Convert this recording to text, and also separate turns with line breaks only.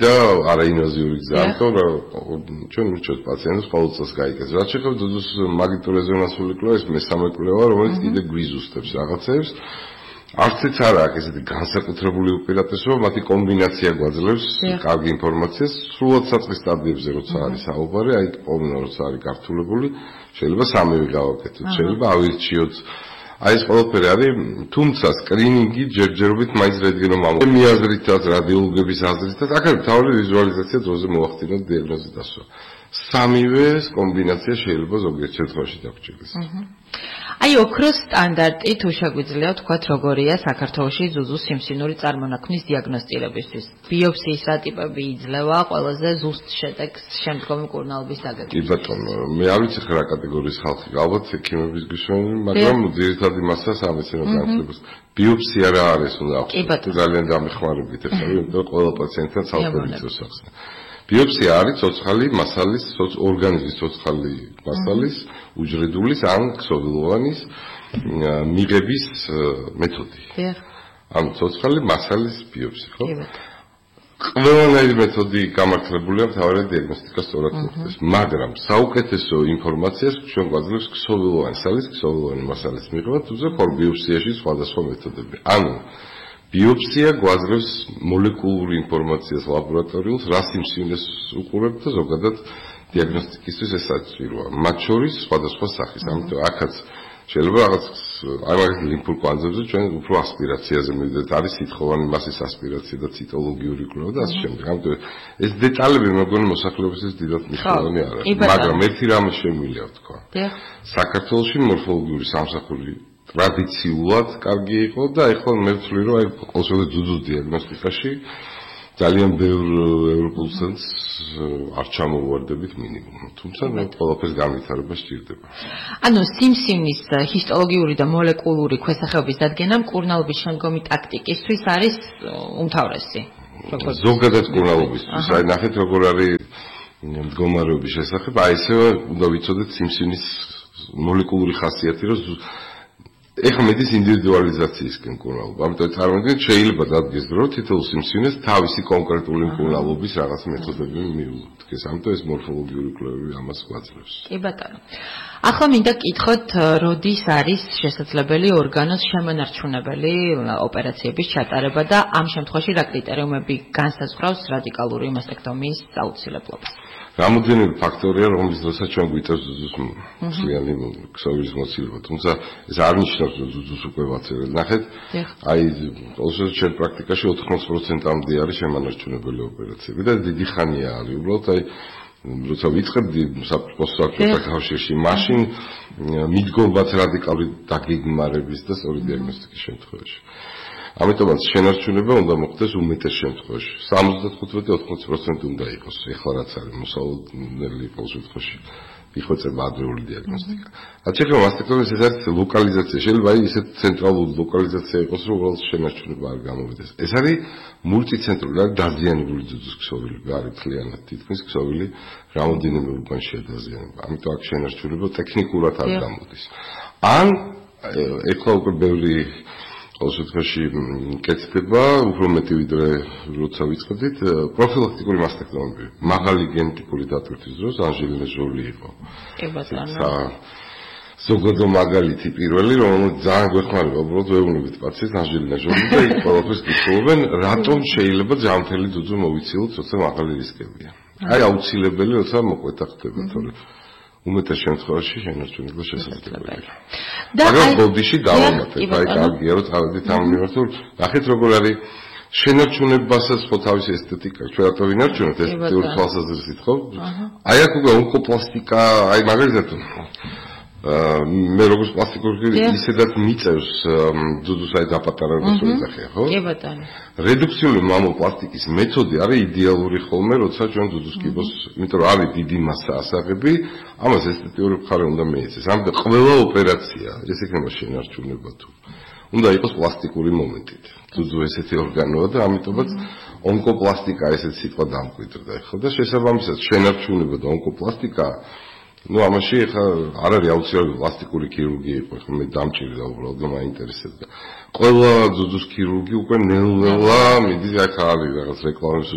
და არაინვაზიური გზა, ამიტომ ჩვენ მივჭოთ პაციენტებს ყოველ წელს გაიგებს. რაც შეეხება ძუძუს მაგნიტურ რეზონანსული კვლევა, ეს მესამე კვლევა, რომელიც კიდე გვიზუსტებს რაღაცებს. არციც არ აქვს ესეთი განსაკუთრებული უპირატესობა, მათი კომბინაცია გვაძლევს კარგი ინფორმაციას, სრულად საწყის სტადიებზე როცა არის საუბარი, აი პოვნა როცა არის გართულებული, შეიძლება სამივე გავაკეთოთ, შეიძლება ავირჩიოთ. აი ეს ყველაფერი არის, თუმცა სკრინინგი ჯერჯერობით მაინც რენტგენო მიმართული აზრითაც, რადიოლოგების აზრითაც, აქ არის თავი ვიზუალიზაცია დროზე მოახდინოთ დიაგნოზის დასვა. სამივე კომბინაცია შეიძლება ზოგიერთ შემთხვევაში დაგჭირდეს.
აი ოქროს სტანდარტი თუ შეგვიძლია ვთქვათ როგორია საქართველოში ზუზუს სიმსივნური წარმონაქმნის დიაგნოსტირებისთვის. ბიოპსიის რა ტიპები იძლევა ყველაზე ზუსტ შედეგს შემდგომი მკურნალობის დაგეგმვის.
კი ბატონო, მე არ ვიცი რა კატეგორიის ხალხი, ალბათ ექიმების გიშოვანი, მაგრამ ძირითადი მასა სამეცნიერო განათლებას. ბიოპსია რა არის უნდა ახსოვოთ. ძალიან დამეხმარებით ახლა, იმიტომ ყველა პაციენტთან ცალკე იწევს ახსნა. ბიოპსია არის ცოცხალი მასალის, ორგანიზმის ცოცხალი მასალის, უჯრედულის ან ქსოვილოვანის მიღების მეთოდი. ანუ ცოცხალი მასალის ბიოპსია, ხო? ყველანაირი მეთოდი გამართლებულია მთავარად დიაგნოსტიკას სწორად მოხდეს, მაგრამ საუკეთესო ინფორმაციას ჩვენ გვაძლევს ქსოვილოვანი სალის, ქსოვილოვანი მასალის მიღება, თუმცა ბიოპსიაში სხვადასხვა მეთოდები. ანუ ბიოპსია გვაძლევს მოლეკულური ინფორმაციას ლაბორატორიულს, რა სიმსივნეს უყურებთ და ზოგადად დიაგნოსტიკისთვის ეს საჭიროა. მათ შორის სხვადასხვა სახის, ამიტომ აქაც შეიძლება რაღაც აი მაგალითად ლიმფურ კვანძებზე ჩვენ უფრო ასპირაციაზე მივიდეთ, არის სითხოვანი მასის ასპირაცია და ციტოლოგიური კვლევა და ასე შემდეგ. ამიტომ ეს დეტალები მეგონი მოსახლეობისთვის დიდად მნიშვნელოვანი არ არის, მაგრამ ერთი რამე შემიძლია ვთქვა. საქართველოში მორფოლოგიური სამსახური ტრადიციულად კარგი იყო და ეხლა მე ვთვლი რომ აი ყოველშაბათი ძუძუს დიაგნოსტიკაში ძალიან ბევრ ევროპულ ცენტრს არ ჩამოვარდებით მინიმუმ. თუმცა მე ყველაფერს განვითარება სჭირდება.
ანუ სიმსივნის ჰისტოლოგიური და მოლეკულური ქვესახეობის დადგენა მკურნალობის შემდგომი ტაქტიკისთვის არის უმთავრესი.
ზოგადად მკურნალობისთვის. აი ნახეთ როგორ არის მდგომარეობის შესახებ, აი ესე უნდა ვიცოდეთ სიმსივნის მოლეკულური ხასიათი, რომ ეხლა მედის ინდივიდუალიზაციისკენ მკურნალობა. ამიტომ წარმოგიდგენთ შეიძლება დადგეს რომ თითოეულ სიმსივნეს თავისი კონკრეტული მკურნალობის რაღაც მეთოდები მიუდგეს. ამიტომ ეს მორფოლოგიური კვლევები ამას გვაძლევს.
კი ბატონო. ახლა მინდა კითხოთ, როდის არის შესაძლებელი ორგანოს შემონარჩუნებელი ოპერაციების ჩატარება და ამ შემთხვევაში რა კრიტერიუმები განსაზღვრავს რადიკალური მასტექტომიის აუცილებლობას?
რამოდენიმე ფაქტორია, რომლის დროსაც ჩვენ გვიწევს ძუძუს მსვლიანი ქსოვილის მოცილება, თუმცა ეს არ ნიშნავს, რომ ძუძუს უკვე ვაცერეთ. ნახეთ, აი ყოველთვის ჩვენ პრაქტიკაში 80%-მდე არის შემონარჩუნებელი ოპერაციები და დიდი ხანია არის. უბრალოდ აი როცა ვიწყებდი მოსახლეობასთან კავშირში, მაშინ მიდგომაც რადიკალური დაგეგმარების და სწორი დიაგნოსტიკის შემთხვევაში. ამიტომაც შენარჩუნება უნდა მოხდეს უმეტეს შემთხვევაში. 75-80% უნდა იყოს. ეხლა რაც არის მოსალოდნელი ყოველ შემთხვევაში იხვეწება ადრეული დიაგნოსტიკა. რაც შეეხება მასტექტომიას, ეს არის ლოკალიზაცია. შეიძლება აი ისეთ ცენტრალური ლოკალიზაცია იყოს, რომ უბრალოდ შენარჩუნება არ გამოვიდეს. ეს არის მულტიცენტრული, არის დაზიანებული ძუძუს ქსოვილი, არის მთლიანად თითქმის ქსოვილი რამოდენიმე ურბანშია დაზიანება. ამიტომ აქ შენარჩუნება ტექნიკურად არ გამოდის. ან ეხლა უკვე ბევრი ყოველშემთხვევაში კეთდება, უფრო მეტი ვიდრე როცა ვიწყებდით, პროფილაქტიკური მასტექტომები. მაღალი გენეტიკური დატვირთვის დროს ანჟელინა ჟოლი იყო.
კი ბატონო.
ზოგადო მაგალითი პირველი, რომელიც ძალიან გვეხმარება, უბრალოდ ვეუბნებით პაციენტს ანჟელინა ჟოლი და იქ ყველაფერს კითხულობენ, რატომ შეიძლება ჯანმრთელი ძუძუ მოვიცილოთ, როცა მაღალი რისკებია. აი აუცილებელი, როცა მოკვეთა ხდება, თორე უმეტეს შემთხვევაში შენარჩუნება შესაძლებელია. მაგრამ ბოდიში დავამატებ, აი კარგია რომ თავადით ამ მიმართულ, ნახეთ როგორ არის შენარჩუნებასაც ხო თავისი ესთეტიკა, ჩვენ რატო ვინარჩუნებთ ესთეტიკური თვალსაზრისით, ხო? აი აქ უკვე ონკოპლასტიკა, აი მაგალითად მე როგორც პლასტიკური ისედაც მიწევს ძუძუს აი დაპატარებას ვეძახია, ხო?
კი ბატონო.
რედუქციული მამოპლასტიკის მეთოდი არის იდეალური ხოლმე, როცა ჩვენ ძუძუს კიბოს, იმიტომ რომ არის დიდი მასა ასაღები, ამას ესთეტიური მხარე უნდა მიეცეს. ამიტომ ყველა ოპერაცია, ეს იქნება შენარჩუნება თუ უნდა იყოს პლასტიკური მომენტით. ძუძუ ესეთი ორგანოა და ამიტომაც ონკოპლასტიკა ესეთ სიტყვა დამკვიდრდა ხო და შესაბამისად შენარჩუნება და ონკოპლასტიკა ну ამაში ხა არ არის აუცილებელი პლასტიკური ქირურგია იყო ხო მე დამჭირდა უბრალოდ მაინტერესებდა ყველა ძუძუს ქირურგი უკვე ნელ-ნელა მიდის აქ არის რაღაც რეკლამის